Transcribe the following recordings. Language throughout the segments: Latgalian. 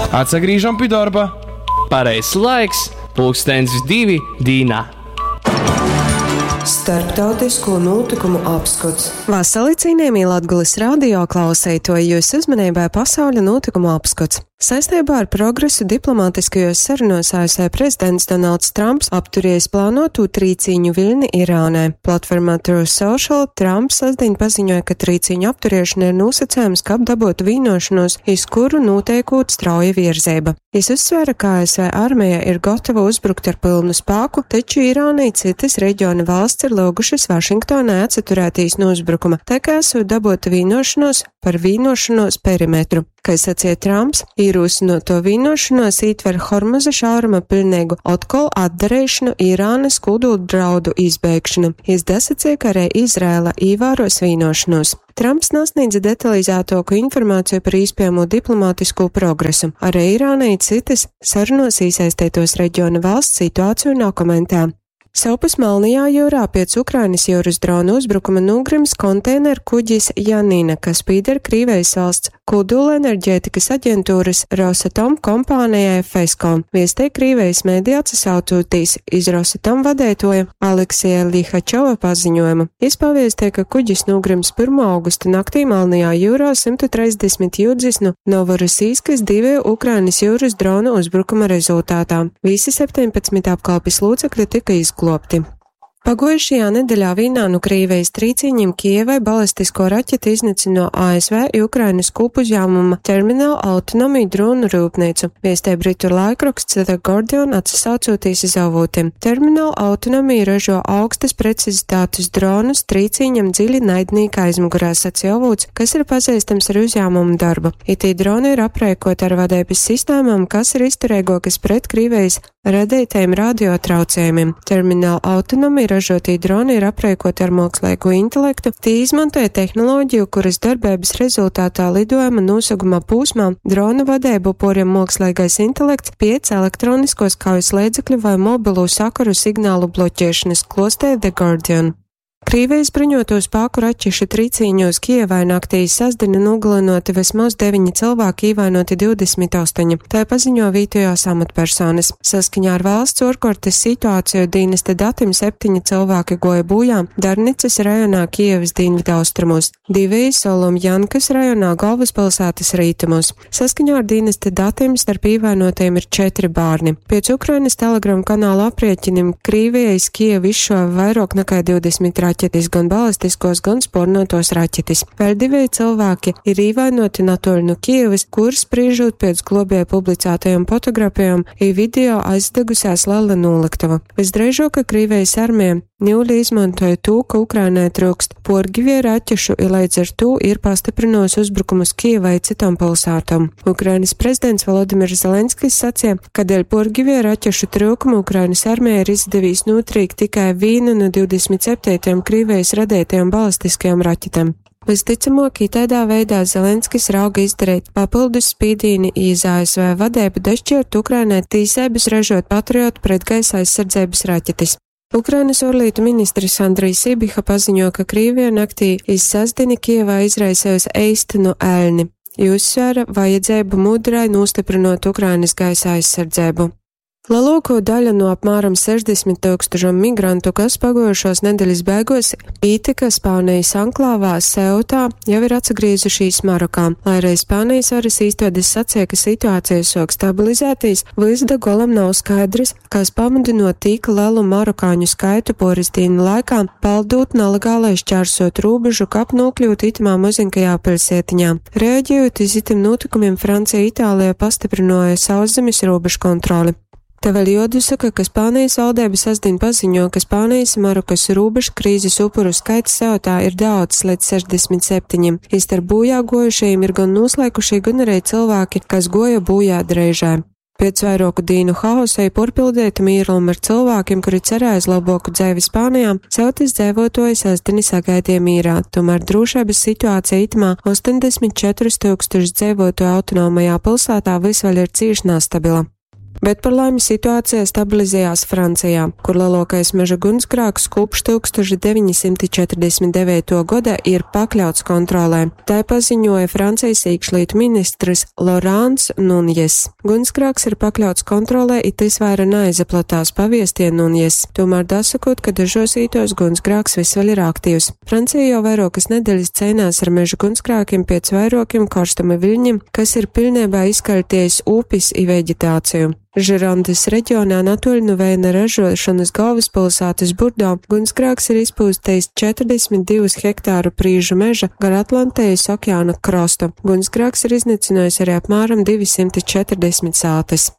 Atsagrīžam pi dorba. Pareizs laiks, pulkstens 2 dīnā. Starptautisko nūtykumu apskots. Vasali, cienījamie Latgulis radio klauseitoji, jūsu uzmanībai pasauļa nūtykumu apskots. Saistībā ar progresu diplomātiskajos sarunos ASV prezidents Donalds Trumps apturējis plānotū trīcīņu viļni Irānai. Platformā Truth Social Trumps sasdiņ paziņoja, ka trīcīņu apturiešana ir nosacējums, kab dabotu vienošanos, iz kuru noteikot strauja virzeiba. Jis uzsvēra, ka ASV armija ir gatava uzbrukt ar pilnu spāku, taču Irāna i cytas reģiona valsts ir lūgušas Vašingtonai atsaturētīs no uzbrukuma, tā kā esot dabota vienošanos par vienošanos perimetru. Kai sacīja Trumps, īrūsinoto vienošanos ītver Hormuza šauruma pilnīgu otkol atdarīšanu Irānas kūduldraudu izbeigšanu. Jis dasacīja, ka arī Izraela īvēros vienošanos. Trumps nasniedza detalizētāku informāciju par īspējamo diplomātisko progresu. Arī Irāna i citas sarunos īsaistētos reģiona valsts situāciju nokomentē. Savpus Melnajā jūrā pēc Ukrainas jūras drona uzbrukuma nogrims konteineru kuģis Janina, kas pīder Krīvejas valsts kodolenerģētikas aģentūras Rosatom kompānijai FESCO. Viestē Krīvejas mēdī atsasaucotīs iz Rosatom vadētoja Aleksija Lihačova paziņojumu. Jis paviestē, ka kuģis nogrims 1. augusta naktī Melnajā jūrā 130 jūdzis no Novorosijskas divu Ukrainas jūras dronu uzbrukuma rezultātā. Visi 17 apkalpes locekļi tika izglobti. Paguojušajā nedeļā vīnā nu Krīvejas trīcīņiem Kievai balistisko raķeti iznīcina no ASV i Ukrainas kūpuzņēmuma Terminal Autonomy dronu rūpnīcu, viestē britu laikraksts The Guardian atsasaucoties iz avotiem. Terminal Autonomy ražo augstas precizitātes dronus trīcīņam dziļi naidnīka aizmugurā, sacīja avots, kas ir pazīstams ar uzņēmumu darbu. Itī droni ir aprēkoti ar vadības sistēmām, kas ir izturīgākas pret Krīvejas radītajiem radiotraucējumiem. Terminal Autonomy ražotī droni ir aprēkoti ar mākslīgo intelektu, tie izmantoja tehnoloģiju, kuras darbības rezultātā lidojuma noseguma pūsmā drona vadību poriem mākslīgais intelekts piec elektroniskos kaujas līdzekļu vai mobilo sakaru signālu bloķēšanas, klostē The Guardian. Krīvijas bruņoto spēku raķešu trīcīņos Kijevai naktī sasdina nogalinoti vismaz 9 cilvēki, īvainoti 28, tā paziņo vietējās amatpersonas. Saskaņā ar valsts orkortes situāciju dienesta datiem 7 cilvēki goja bojā Darnicas rajonā Kijevas dienvidaustrumos, 2 Solomjankas rajonā galvaspilsētas rītumos. Saskaņā ar dienesta datiem starp īvainotajiem ir 4 bērni. Pēc Ukrainas Telegram kanāla aprēķiniem Krīvija iz Kijevu izšāva vairāk nekā 20 raķetes, gan balistiskos, gan spornotos raķetes. Vēl divi cilvēki ir īvainoti natoļ no Kievas, kur spriežot pēc globēja publicētajām fotografijām, i video aizdegusies lela noliktava. Visdrīzāk, ka Krīvijas armija Ņūļi izmantoja to, ka Ukrainai trūkst porgivie raķešu, i līdz ar to ir pastiprinosi uzbrukumus Kievai citām pilsētām. Ukrainas prezidents Volodimirs Zelenskis sacīja, ka dēļ porgivie raķešu trūkuma Ukrainas armija ir izdevīs notrīkt tikai vienu no 27 Krīvijas radītajām balistiskajām raķetēm. Visticamāk, tādā veidā Zelenskis rauga izdarīt papildus spīdīni iz ASV vadību dašķirt Ukrainai tīsēbas ražot Patriot pretgaisa aizsardzības raķetes. Ukrainas ārlietu ministrs Andrijs Sibiha paziņo, ka Krīvija naktī iz sestdieni Kievā izraisējusi eistenu elni, i uzsvēra vajadzību mudrai nostiprinot Ukrainas gaisa aizsardzību. Lielāko daļu no apmēram 60 tūkstošiem migrantu, kas pagojušos nedēļas beigās ītika Spānijas anklāvā Seutā, jau ir atsagriezušies Marokā. Lai arī Spānijas varas īstodes sacīja, ka situācija sok stabilizētīs, vys da golam nav skaidrs, kas pamudinot tik lielu marokāņu skaitu poris dienu laikā, paldūt nelegālai šķērsot robežu, kap nokļūt itamā mazinkajā pilsētiņā. Reaģējot iz itim notikumiem, Francija Itālijā pastiprināja sauszemes robežu kontroli. Te vēl jodusaka, ka Spānijas valdība sestdien paziņo, ka Spānijas Marokas robežu krīzes upuru skaits Seutā ir daudz līdz 67. Istarp bojā gojušajiem ir gan noslēkušie, gan arī cilvēki, kas goja bojā dreižē. Pēc vairāku dienu haosa i porpildēta mīrluma ar cilvēkiem, kuri cerēja uz labāku dzēvi Spānijā, Ceutas dzēvotoji sestdieni sagaidīja mīrā. Tomēr drošības situācija itamā 84 tūkstošu dzēvotoju autonomajā pilsētā vis vēl ir cīši nestabila. Bet par laimi situācija stabilizējās Francijā, kur lielākais meža gunsgrāks kopš 1949. gada ir pakļauts kontrolē. Tā paziņoja Francijas iekšlietu ministrs Lorāns Nunjes. Gunsgrāks ir pakļauts kontrolē, it tas vaira neizaplatās paviestie Nunjes. Tomēr dasakot, ka dažos ītos gunsgrāks vis vēl ir aktīvs. Francija jau vairokas nedēļas cīnās ar meža gunsgrākiem pēc vairokiem karstuma viļņiem, kas ir pilnībā izkaļties upis i veģetāciju. Žirondes reģionā natoļ nu vēna ražošanas galvaspilsētas Burdo gunsgrāks ir izpūstījis 42 hektāru prīžu meža gar Atlantijas okeāna krostu. Gunsgrāks ir iznīcinājis arī apmēram 240 sātes.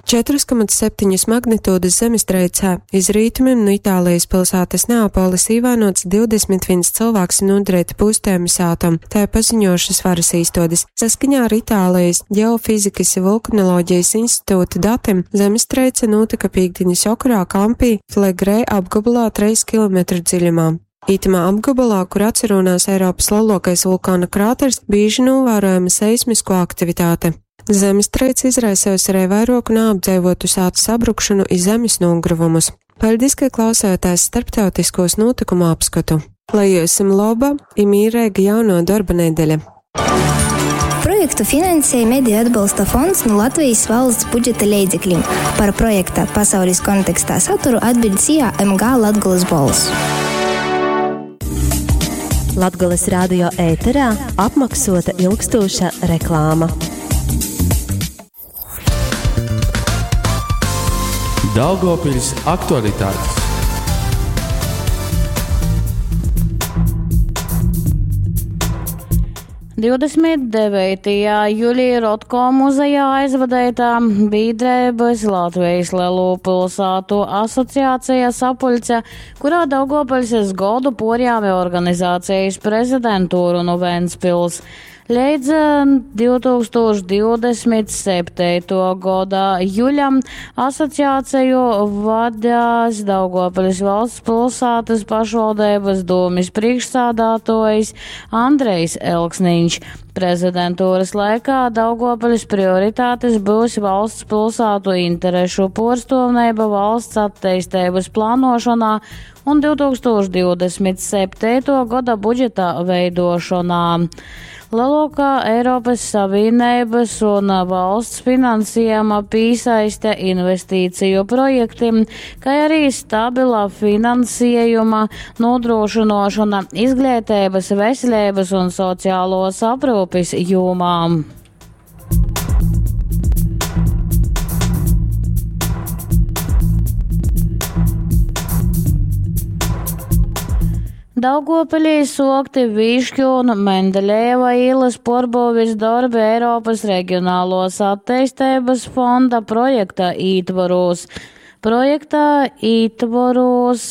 4,7 magnitūdas zemestreicē iz rītumiem no Itālijas pilsētas Neapolis īvainots 21 cilvēks un nodarīti pūstējumi sātam, tā ir paziņojušas varas īstodes. Saskaņā ar Itālijas ģeofizikas un vulkanoloģijas institūta datiem zemestreice notika pīkdiņas okarā Kampī Flegrē apgabalā 3 km dziļumā. Itamā apgabalā, kur atcerunās Eiropas lielākais vulkāna krāters, bieži novērojama seismisko aktivitāte. Zemestrīce izraisījusi arī vairoku neapdzīvotu sātu sabrukšanu i zemes nogruvumus. Paldies, ka klausējāties starptautiskos notikumu apskatu. Lai jums laba i mīrīga jauno darba nedēļa! Projektu finansēja Mediju atbalsta fonds no Latvijas valsts budžeta leidzekļiem. Par projekta pasaules kontekstā saturu atbild SIA MG Latgulas bols. Latgulas radio ēterā apmaksota ilgstoša reklāma. Daugavpils aktualitātes. 29. jūlijā Rotko muzejā aizvadētā biedrības Latvijas Lielo pilsētu asociācija sapuļce, kurā Daugavpils godu porjāmi organizācijas prezidentūru no Ventspils. Līdz 2027. Gada juļam asociāciju vadās Daugavpils valsts pilsētas pašvaldības dūmis priekšsādātojs Andrejs Elksniņš. Prezidentūras laikā Daugavpils prioritātes būs valsts pilsētu interešu porstovnība valsts attīstības plānošanā un 2027. Gada budžeta veidošanā. Lielākā Eiropas Savienības un valsts finansējuma piesaiste investīciju projektiem, kā arī stabila finansējuma nodrošināšana izglītības, veselības un sociālos aprūpes jomām. Daugopilī sokti Višķu un Mendeļeva ielas porbūvis darbi Eiropas reģionālos attīstības fonda projekta ītvaros. Projektā ītvaros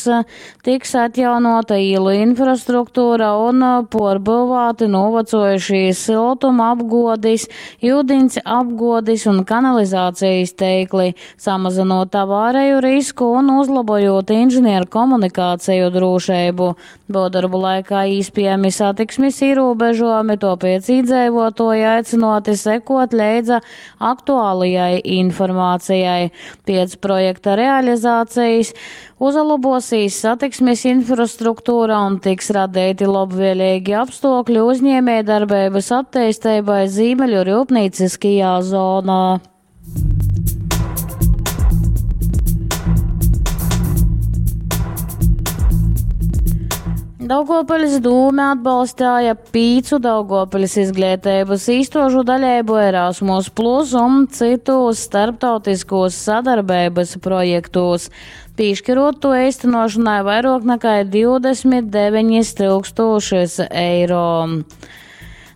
tiks atjaunota īlu infrastruktūra un porbūvāti novecojušie siltuma apgodis, jūdiņas apgodis un kanalizācijas teikli, samazinot avāriju risku un uzlabojot inženieru komunikāciju drošību. Būvdarbu laikā īspējami satiksmes ierobežojumi, tāpēc iedzīvotāji aicināti sekot leidza aktuālajai informācijai. Pēc projekta realizācijas uzlabosīs satiksmes infrastruktūra un tiks radīti labvēlīgi apstākļi uzņēmējdarbības attīstībai Zīmeļu rūpnīciskajā zonā. Daugavpils dūme atbalstīja pīcu Daugavpils izglītības īstožu daļēbu Erasmus Plus un citos starptautiskos sadarbības projektos. Piešķirot to īstenošanai vairāk nekā 29 tūkstošus eiro.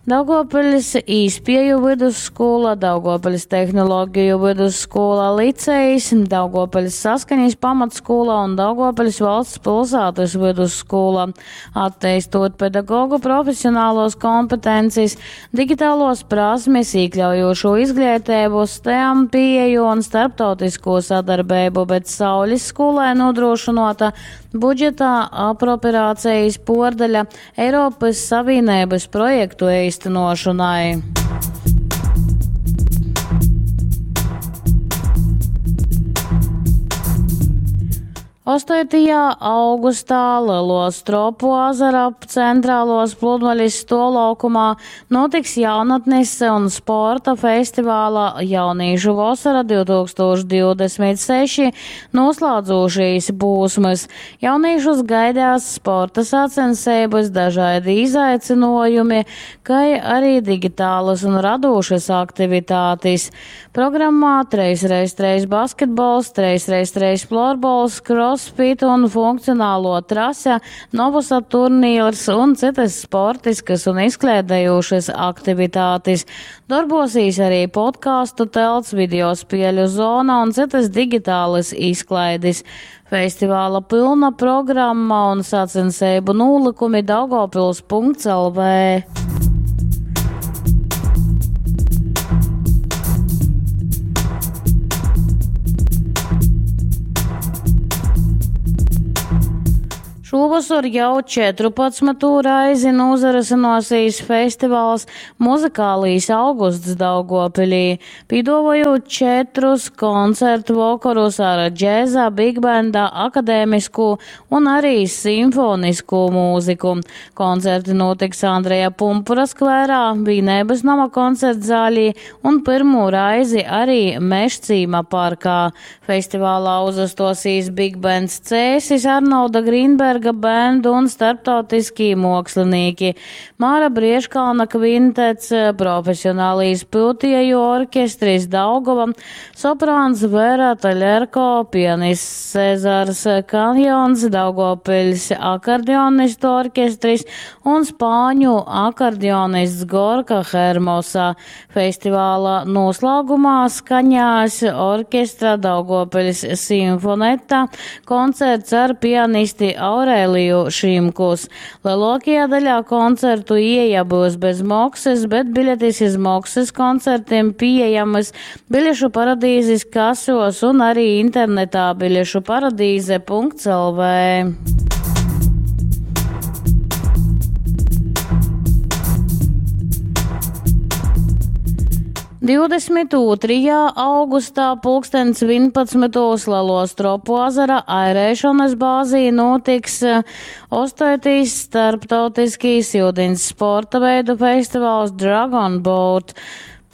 Daugavpils īspēju vidusskola, Daugavpils tehnoloģiju vidusskola licejs, Daugavpils saskaņas pamatskola un Daugavpils valsts pilsētas vidusskola. Attīstot pedagogu profesionālos kompetences, digitālos prasmes, iekļaujošo izglītību, STEM pieeju un starptautisko sadarbību, bet Saules skolai nodrošinota budžetā apropriācijas pordaļa Eiropas Savienības projektu īstenošanai. 8. augustā Leluo Stropu azara centrāluos pludmalis stuovlaukumā nūtiks jaunatnis un sporta festivāla Jaunīšu vosora 2026 noslādzūšīs pūsmys. Jaunīšus gaidās sporta sacenseibys, dažaidi izaicynuojumi, kai arī digitālys un radūšys aktivitātis. Programmā 3x3 basketbols, 3x3 florbols, crossfit un funkcionālo trase, novusa turnīrs un citas sportiskas un izklaidējošas aktivitātes. Darbosīs arī podkāstu telts, video spēļu zona un citas digitālas izklaides. Festivāla pilna programma un sacenseibu nūlikumi daugavpils.lv. Šovasar jau 14. Reizi nūzarysynōsīs festivals Muzikālīs augusts Daugopilī, pīduovojūt četrus koncertu vokorus ar džeza, bigbenda, akadēmiskū un arī simfoniskū mūziku. Koncerti nūtiks Andreja Pumpura skvērā, Vīneibys noma koncertzālī un pyrmū raizi arī Mežcīma parkā. Festivālā uzastosīs Big Bands Cēsis, Arnolda Grīnberga band un starptautiskī muokslinīki. Māra Briežkalna kvintets, profesionālīs pyutieju orķestris Daugova, soprāns Vera Taļerko, pianists Cezars Kanjons, Daugavpiļs akordeonistu orķestris un spāņu akordeonists Gorka Hermosa. Festivāla noslēgumā skaņās orķestra Daugavpiļs simfoneta koncerts ar pianisti Aurēliju Šimkus. Lielākajā daļā koncertu ieeja būs bez moksas, bet biļetes iz moksas koncertiem pieejamas biļešu paradīzes kasos un arī internetā biļešu paradīze.lv. 22. Augustā pulkstens 11. Lelo Stropu azara airēšanas bāzī notiks 8. Starptautiskīs iudins sporta veidu festivāls Dragon Boat.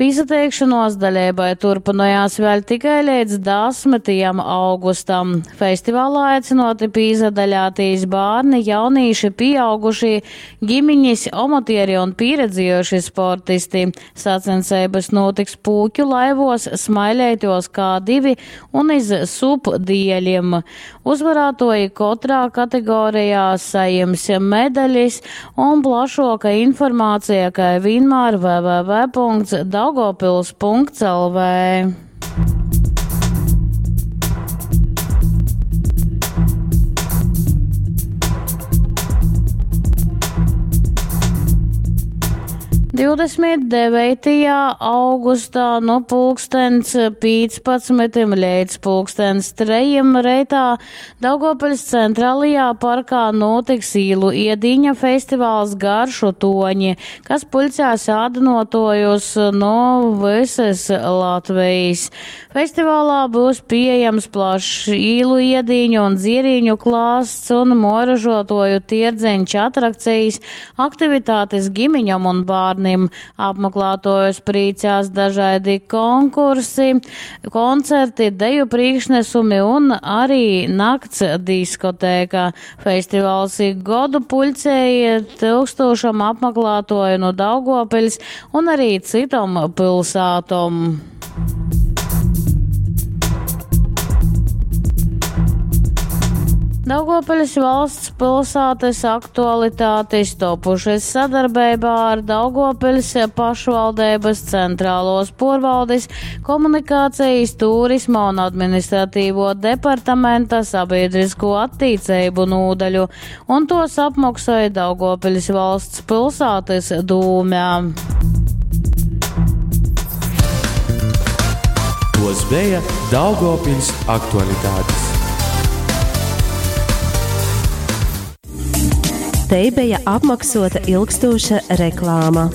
Pīsateikšanos daļībai turpinājās vēl tikai līdz 10. Augustam. Festivālā aicinoti pīzadaļātīs bērni, jaunīši, pieaugušie, ģimiņas, omotieri un pieredzējuši sportisti. Sacensības notiks pūķu laivos, smailētos K2 un iz subdieļiem. Uzvarātoji katrā kategorijā sajims medaļas un plašoka informācija, kā vienmēr www.daugavpils.lv. 29. Augustā no pulkstens 15 līdz pulkstens 3 reitā Daugavpils centrālajā parkā notiks īlu iedīņa festivāls Garšu toņi, kas puļcēs ādynotojus no visas Latvijas. Festivālā būs pieejams plašs īlu iedīņu un dzierīņu klāsts un moražotoju tierdzeņš atrakcijas, aktivitātes gimiņam un bārnim. Apmeklētojus prīcās dažādi konkursi, koncerti, deju priekšnesumi un arī nakts diskotēka. Festivāls ik godu puļcēja tūkstošam apmeklētoju no Daugavpils un arī citom pilsētom. Daugavpils valsts pilsētas aktualitātes topušas sadarbībā ar Daugavpils pašvaldības centrālos porvaldes, komunikācijas, turisma un administratīvo departamenta sabiedrisko attīcību nūdaļu, un tos apmaksāja Daugavpils valsts pilsētas dūmē. Tos bija Daugavpils aktualitātes. Te bija apmaksota ilgstoša reklāma.